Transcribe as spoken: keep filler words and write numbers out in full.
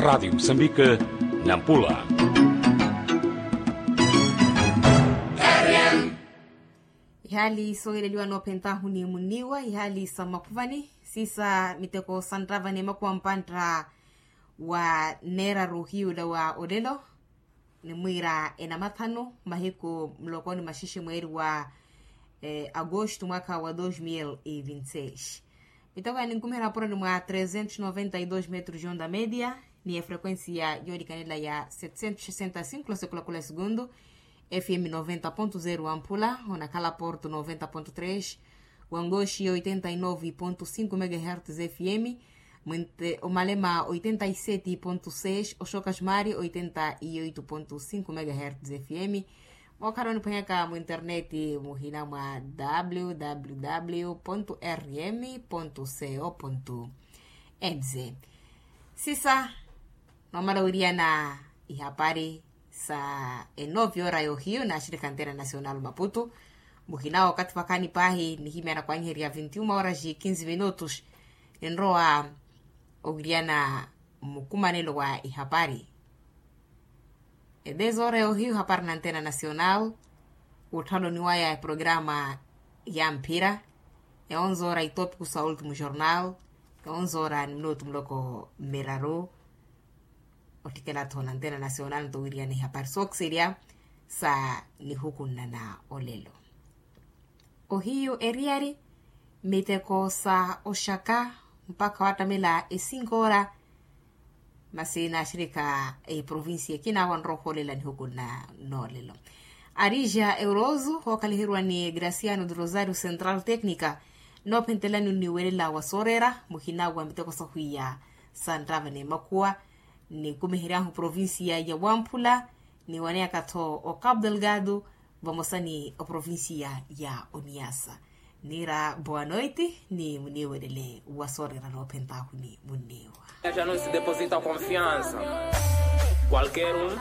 Radiyo musambika, nampula. Ihaali soohileliwa noophentahu ni munniwa ihaali sa mmakhuvani, siisa miteko sa nttava ni makuwa mpantta wa neeraru ohiyula wa olelo. Nimwiira enamathanu mahiku muloko ni maxixi mweeri wa agosto mwaka wa dos mil e vinte seis. Miteko ya ninkumiha napuroni mwa trezentos noventa e dos metros onda media, ni efrequencia yoolikanela ya setecentos sessenta e cinco losekulakula segundu. Fm noventa ponto zero wa mpula onakhala porto noventa ponto tres, wangoxi oitenta e nove ponto cinco megahertz fm, mwente omalema oitenta e sete ponto seis oxoka ximari oitenta e oito ponto cinco megahertz fm. Mookhala oniphwanyaka mu internet muhina mwa www rm co nz. Sisa noomala wiriyana ihapari sa enovi ora yohiyu naaxirikha antena nacional maputu. Muhina wookathi vakhaani paahi nihimyana kwanyiherya vinti uma horas e quinze minutos. Ninrowa owiriyana mmukumanelo wa ihapari. Edes ora yohiyu hapari na antena nacional. Wutthaloni waya eprograma ya mphira. Eonze ora itopiku sa ultimo jornal. Eonze ora ni minutu muloko mmiraru. Ottikela-tho na antena nacional nto wiriyana ihapari sookiserya sa nihukunna na olelo. Ohiyu eriyari miteko sa oxaka mpakha wattamela esinkoora. Masi naaxirikha eprovincia ekina wanrowa ohoolela nihukunna noolelo. Arija euroso hookhaliheryiwa ni graciano de rosario central tecnica noophentelani oniwelela wa sooreera muhina wa miteko sahwiya sa nttava ni makhuwa. Nikumihery'ahu provincia ya wamphula niwaneyaka-tho o cabo delgado vamosa ni oprovincia ya oniasa. Niira boa noite ni muniiwelele wa sooreera noophent'ahu ni munniiwa. Ella no se deposita confianza. Qualquer um.